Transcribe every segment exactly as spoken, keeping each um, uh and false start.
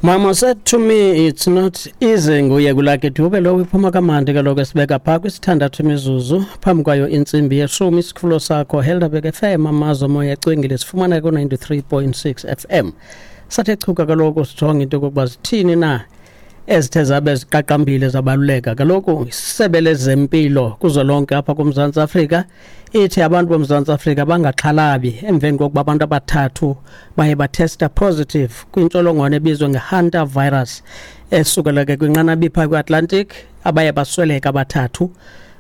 Mama said to me it's not easy. Nguye kuLucky Dube lowo, iphuma kamandi kaloku, esibeka phaa kwisithandathu imizuzu phambi kwayo intsimbi yeshumi. Isikhululo sakho Helderberg F M, amazwe moya ecwengile, sifumaneka ku-ninety-three point six F M. Sathe chuka kaloku sijonge into yokokuba zithini na ezithe zabe ziqaqambile zabaluleka. Kaloku isebe lezempilo kuzwelonke apha kuMzantsi Afrika ithi abantu boMzantsi Afrika bangaxhalabi emveni kokuba abantu abathathu baye batesta positive kwintsholongwane ebizwa nge-Hanta virus esukela ke kwinqanaba ipha kwi-Atlantic, abaye basweleka abathathu.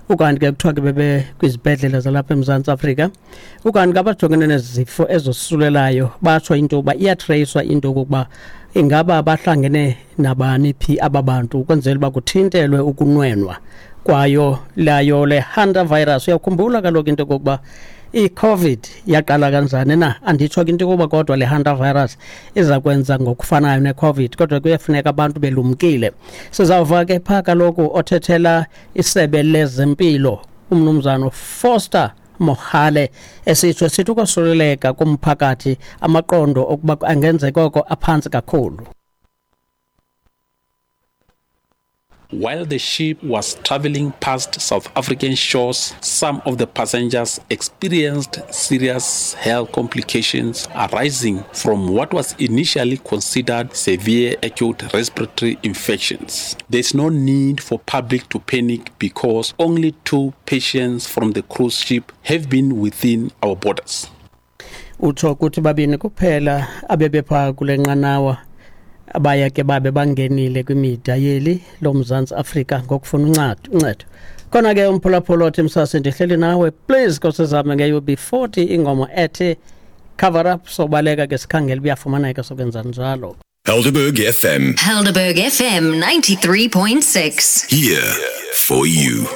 Ukanti ke kuthiwa ke bebe kwizibhedlele zalapha eMzantsi Afrika. Ukanti ke abajongene nezifo ezosulelayo batsho into yokuba iyatreyiswa into yokokuba ingaba bahlangene nabani phi aba bantu, ukwenzela uba kuthintelwe ukunwenwa kwayo layo le Hanta virus. Uyakhumbula kaloku into yokokuba i-COVID yaqala kanjani na? Anditsho ke into yokuba kodwa le Hanta virus iza kwenza ngokufanayo ne-COVID, kodwa kuyafuneka abantu belumkile. Sizawuva ke phaa kaloku othethela isebe lezempilo, umnumzana Foster Mohale, esitsho sithi ukosuleleka kumphakathi amaqondo okuba angenzeka oko aphantsi kakhulu. While the ship was traveling past South African shores, some of the passengers experienced serious health complications arising from what was initially considered severe acute respiratory infections. There's no need for public to panic because only two patients from the cruise ship have been within our borders. Utsho ukuthi babini kuphela abebephaa kule nqanawa abaya ke babe bangenile kwimida yeli loMzantsi Afrika ngokufuna uncedo uncedo Khona ke umphulaphula othi msase ndihleli nawe, please nkosizame nge-U B forty ingoma ethi Cover Up. Sobaleka ke sikhangela uyafumaneka, sokwenza njalo. Helderberg F M. Helderberg F M ninety-three point six. Here for you.